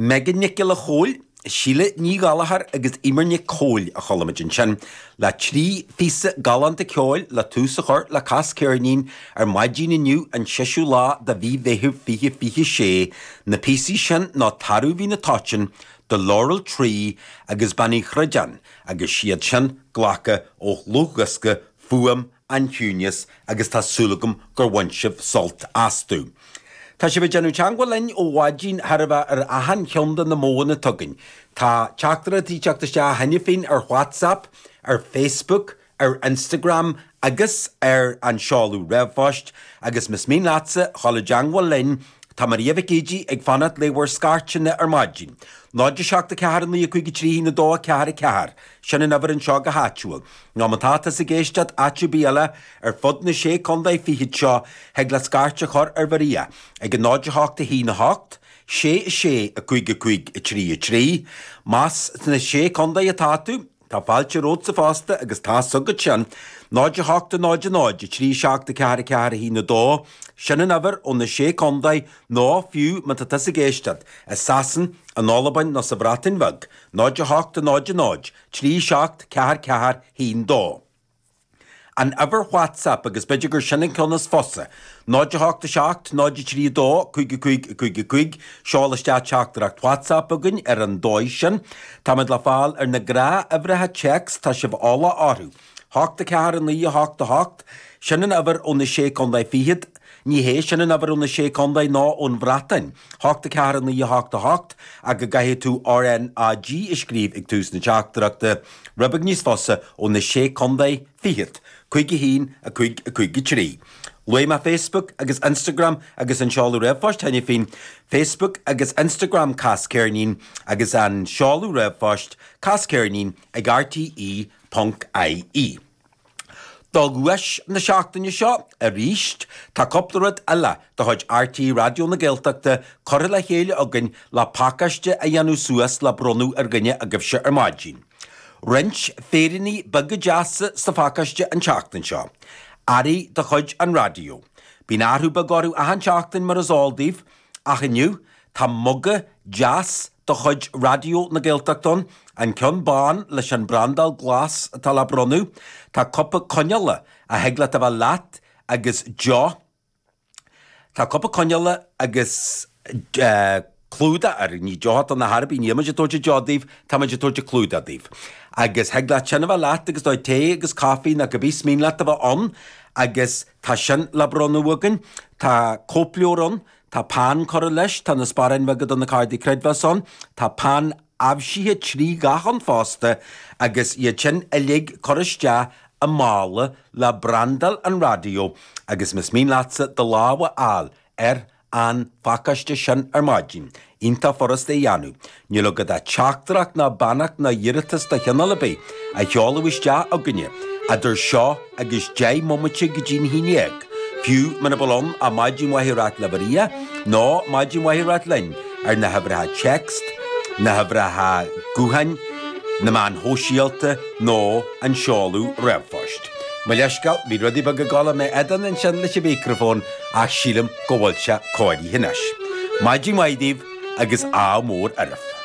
Megan Nic Giolla Chóill, Síle Ní Ghallchóir agus Eimear Nic Cóil a chuala muid ansin le 3 phíosa galánta ceoil le tús a chur le Cas Ceirnín ar maidin inniu an seisiú lá de mhí Mheithimh 2026. Na píosaí sin ná Tarbh Bhí na Toiteann, The Laurel Tree agus Bean Uí Chroideáin agus siad sin glactha ó dhlúthdhiosca Fuaim an Chiúnas agus tá súil agam gur bhain sibh sult astu. Tá sibh ag déanamh teagmháil linn ó mhaidin chóir a bheith ar achan cheann de na modhanna atá againn. Tá teachtaireachtaí ag teacht isteach cheana féin ar WhatsApp, ar Facebook, ar Instagram agus ar an seoladh ríomhphoist agus más mian leatsa dhul i dteagmháil linn, tá Maria Mhic Géidigh ag fanacht le bhur scairteanna ar maidin. 0 7 4 9 5 3 1 2 4 4. Sin an uimhir anseo go háitiúil. Nó má tá tusa ag éisteacht áit ar bith eile ar fud na sé contae fichead seo, thig leat scairt a chur ar Mharia ag 0 8 1 8 6 6 5 5 3 3. Más sna sé contae atá tú, tá fáilte romhatsa fosta agus tá's agat sin. 0 8 0 0 3 7 4 4 1 2, Sin an uimhir ó na sé contae nó fiú má tá tusa ag éisteacht i Sasain, in Albain nó sa Bhreatain Bheag, 0 8 0 0 3 7 4 4 1 2. An uimhir WhatsApp, agus b'fhéidir gur sin an ceann is fusa, 0 8 7 0 3 2 5 5 5 5, seol isteach teachtaireacht WhatsApp chugainn ar an dóigh sin. Táimid le fáil ar na gnáthuimhreacha téacs, tá sibh eolach orthu. 8 4 9 8 8, sin an uimhir ó na Sé Contae Fichead. Ní hé sin an uimhir ó na Sé Contae ná ón Bhreatain. 8 4 9 8 8, ach go gcaithfidh tú RnaG a scríobh ag tús na teachtaireachta. Rud beag níos fusa ó na Sé Contae Fichead. 5 1 5 5 3. Luaigh mé Facebook agus Instagram agus an seoladh ríomhphoist cheana féin, Facebook agus Instagram Cas Ceirnín agus an seoladh ríomhphoist casceirnín ag rte ponc ie. Do dhuais na seachtaine seo, arís, tá cúpla rud eile de chuid RTÉ Raidió na Gaeltachta curtha le chéile againn le pacáiste a dhéanamh suas le bronnadh ar dhuine agaibhse ar maidin. Roinnt féiríní beaga deasa sa phacáiste an tseachtain seo. Earraí de chuid an raidió. Bíonn athrú beag orthu achan tseachtain mar is eol daoibh, ach inniu tá muga deas de chuid Raidió na Gaeltachta ann, an ceann bán leis an mbrandáil glas atá le bronnadh. Tá cupa coinneála a thig leat a bheith leat agus deoch. Tá cupa coinneála agus clúdach air, ní deoch atá ann ar chor ar bith, níl muid ag tabhairt deoch daoibh, tá muid ag tabhairt clúdach daoibh. Agus thig leat sin a bheith leat agus do tae agus caife nó cibé is mian leat a bheith ann agus tá sin le bronnadh againn. Tá cóipleabhar ann, Tá peann curtha leis, tá na sparáin bheaga do na cártaí creidmheasa ann, tá peann aibhsithe 3 dhath ann fosta agus iad sin uilig curtha isteach i mála le brandáil an raidió agus más mian leatsa do lámh a fháil ar an phacáiste sin ar maidin, iontach furasta é a dhéanamh. Níl agat ach teachtaireacht ná beannacht ná iarratas de chineál ar bith a sheoladh isteach chugainne idir seo agus 10 mbomaite go dtí'n haon dhéag, fiú muna bhfuil ann ach maidin mhaith a ráit le Maria nó maidin mhaith a ráit linn ar na huimhreacha text, na huimhreacha gutháin, na meáin shóisialta nó an seoladh ríomhphoist. Mo leithscéal, bhí rudaí beaga ag dul i m'éadan ansin leis an mhicreafón ach sílim go bhfuil sé cóirithe anois. Maidin mhaith daoibh! agus ádh mór oraibh.